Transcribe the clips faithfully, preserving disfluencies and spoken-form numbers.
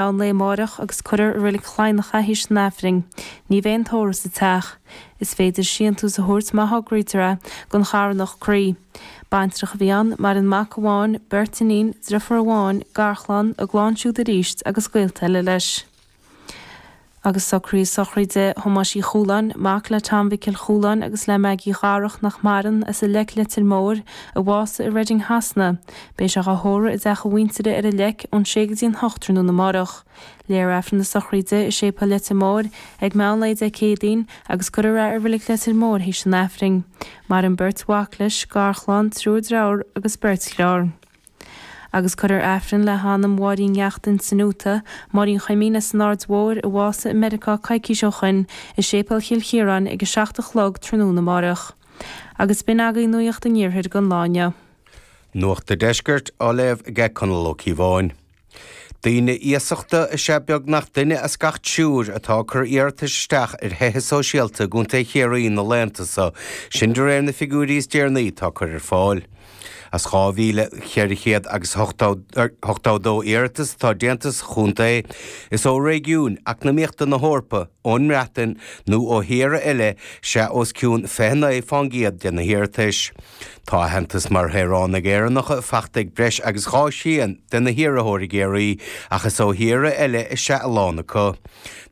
Meán lae amárach agus cuirfear i Reilig Chladhnach é théis an Aifrinn. Ní bheidh aon tórramh sa teach. Is féidir síntiús a thabhairt má thograítear é don charthanacht Croí. Baintreach a bhí ann, maireann mac amháin, beirt iníon, driofúr amháin, garchlann, a gclann siúd arís agus gaolta eile leis. Agus socruithe sochraide Thomáis Uí Chualáin, mac le Tom Mhicil Chualáin agus le Maggie Dharach nach maireann, as an Leic Leitir Móir, a bhásaigh i Reading Shasana. Beidh sé á thórramh i dteach a mhuintire ar an Leic ón sé go dtí an hocht tráthnóna amárach. Léifear Aifreann na sochraide i Séipéal Leitir Móir ag meán lae Dé Céadaoin agus cuirfear é i Reilig Leitir Móir théis an Aifrinn. Maireann beirt mhac leis, garchlann, triúr dearthár agus beirt dheartháir. Agus cuirfear Aifreann le hanam Mháirín Neachtain san Úta, Máirín Chuimín as an Aird Mhóir, a bhásaigh i Meiriceá coicís ó shoin, i Séipéal Chill Chiaráin ag a seacht a chlog tráthnóna amárach. Agus b'in agaibh Nuacht an Iarthair don lá inniu. Nuacht an Deiscirt á léamh ag Conall Ó Cíobháin. Daoine iasachta is ea beagnach duine as gach triúr atá ag cur iarratais isteach ar thithe sóisialta i gContae Chiarraí na laethanta seo, sin de réir na figiúirí is deireanaí atá curtha ar fáil. As dhá mhíle cheithre chéad agus ochtó dó iarratas atá déanta sa chontae, is ó réigiún eacnamaíochta na hEorpa, ón mBreatain nó ó thíortha eile is ea os cionn fiche naoi fán gcéad de na hiarratais. Tá aitheantas mar shaoránaigh Éireannacha faighte ag breis agus dhá thrian de na hiarrthóirí i gCiarraí ach is ó thíortha eile is ea a lán acu.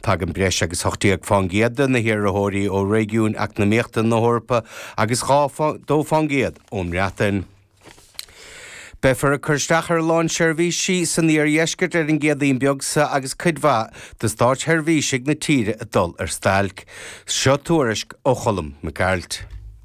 Tagann breis agus hocht déag fán gcéad de na hiarrthóirí ó réigiún eacnamaíochta na hEorpa agus dhá dó fán gcéad ón mBreatain. Beifear ag cur isteach ar a lán seirbhísí san iardheisceart ar an gCéadaoin beag seo agus cuid mhaith de státseirbhísigh na tíre ag dul ar stailc. Seo tuairisc ó Cholm Mac Gearailt.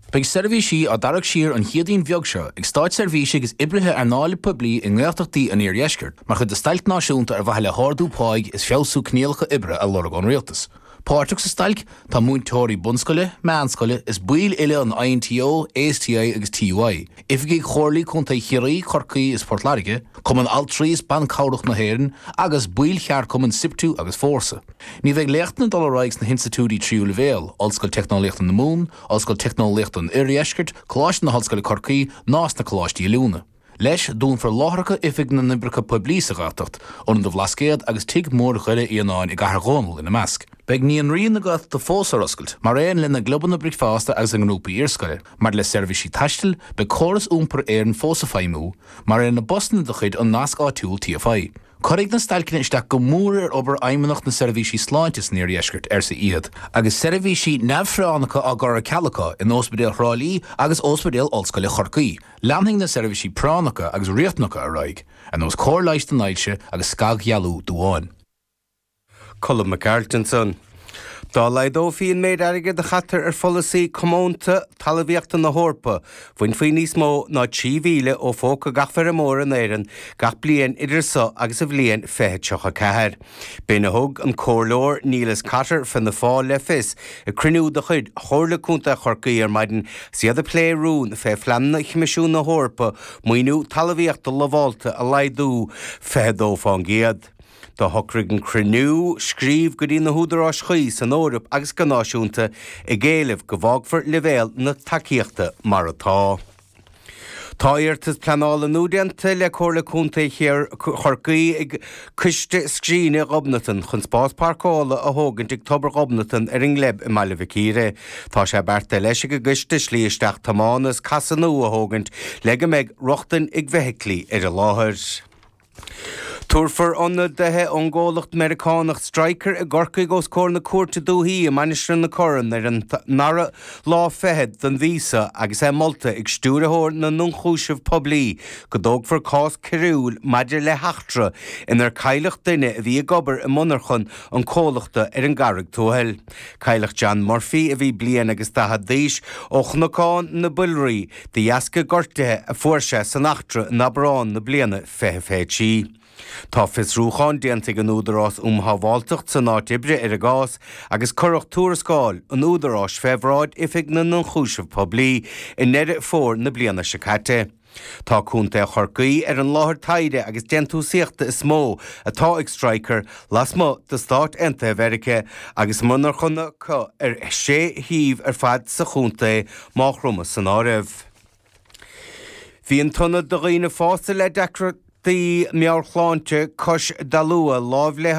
Beidh seirbhísí á dtarrac siar an Chéadaoin bheag seo ag státseirbhísigh is oibrithe earnála poiblí i nGaeltachtaí an iardheiscirt mar chuid de stailc náisiúnta ar mhaithe le hardú páigh is feabhsú coinníollacha oibre a lorg ón rialtas. Páirteach sa stailc tá múinteoirí bunscoile, meánscoile is baill uile an I N T O, A S T I agus T U I, oifigigh Chomhairlí Contae Chiarraí, Chorcaí is Port Láirge, Cumann Altraí is Ban Cabhrach na hÉireann agus baill cheardchumann SIPTU agus Fórsa. Ní bheidh léachtanna ag dul ar aghaidh sna hinstitiúidí tríú leibhéal, Ollscoil Teicneolaíochta na Mumhan, Ollscoil Teicneolaíochta an Oirdheiscirt, Coláiste na hOllscoile Corcaigh ná sna coláistí oiliúna. Leis dúnfar láithreacha Oifig na nOibreacha Poiblí sa Ghaeltacht, Ionad an Bhlascaoid agus Tigh Mór Dhoire Fhíonáin i gCathair Dhónaill ina measc. Beidh naíonraí na Gaeltachta fós ar oscailt, mar aon lena gclubanna bricfeasta agus a ngrúpaí iarscoile. Maidir le seirbhísí taistil, beidh córas iompair Éireann fós ag feidhmiú, mar aon le busanna de chuid an Nasc Áitiúil T F I. Cuirfidh na stailceanna isteach go mór ar obair Fheidhmeannacht na Seirbhísí Sláinte san iardheisceart, arsa iad, agus seirbhísí neamhphráinneacha á gcur ar ceal acu in Ospidéal Thrá Lí agus Ospidéal Ollscoile Chorcaí. Leanfaidh na seirbhísí práinneacha agus riachtanacha ar aghaidh, ar nós cóir leighis don ailse agus scagdhealú duáin. Colm Mac Gearailt ansan. Dá laghdófaí an méid airgid a chaitear ar pholasaí comónta talmhaíochta na hEorpa, bhainfí níos mó ná trí mhíle ó phóca gach feirmeoir in Éirinn gach bliain idir seo agus an bhliain fiche tríocha ceathair. B'in a thug an comhairleoir Neilus Cotter Fianna Fáil le fios ag cruinniú de chuid Chomhairle Contae Chorcaí ar maidin is iad ag plé rún fé phleananna Choimisiún na hEorpa maoiniú talmhaíochta lamhálta a laghdú fiche dó fán gcéad. Do shocraigh an cruinniú scríobh go dtí na húdaráis chuí san Eoraip agus go náisiúnta ag éileamh go bhfágfar leibhéal na tacaíochta mar atá. Tá iarratas pleanála nua déanta le Comhairle Contae Chorcaí ag Coiste Scríne Ghobnatan chun spás páirceála a thógaint ag Tobar Ghobnatan ar an nGleib i mBaile Mhic Íre. Tá sé beartaithe leis ag an gcoiste slí isteach tiomána is casadh nua a thógaint le go mbeidh rochtain ag feithiclí ar an láthair. Tabharfar ionadaithe ón gcomhlacht Meiriceánach Stryker i gCorcaigh os comhair na cúirte dúiche i Mainistir na Corann ar an ndara lá fichead den mhí seo agus é molta ag stiúrthóir na n-ionchúiseamh poiblí go dtógfar cás coiriúil maidir le heachtra inar cailleadh duine a bhí ag obair i monarcha an chomhlachta ar an gCarraig Tuathail. Cailleadh John Murphy a bhí bliain agus daichead d'aois ó Chnocán na Builrí de dheasca gortuithe a fuair sé san eachtra in Aibreán na bliana fiche fiche trí. Tá fiosrúchán déanta ag an Údarás um Shábháilteacht san áit oibre ar an gcás agus cuireadh tuarascáil an Údaráis fé bhráid Oifig na n-ionchúiseamh poiblí i nDeireadh Fómhair na bliana seo caite. Tá Contae Chorcaí ar an láthair taighde agus déantúsaíochta is mó atá ag Stryker lasmuigh de Stáit Aontaithe Mheiriceá agus monarchana acu ar sé shuíomh ar fad sa chontae, Maigh Chromtha san áireamh. Bhí an t-ionad do dhaoine fásta le deacra Gardaí Meabhairshláinte cois Dalua lámh le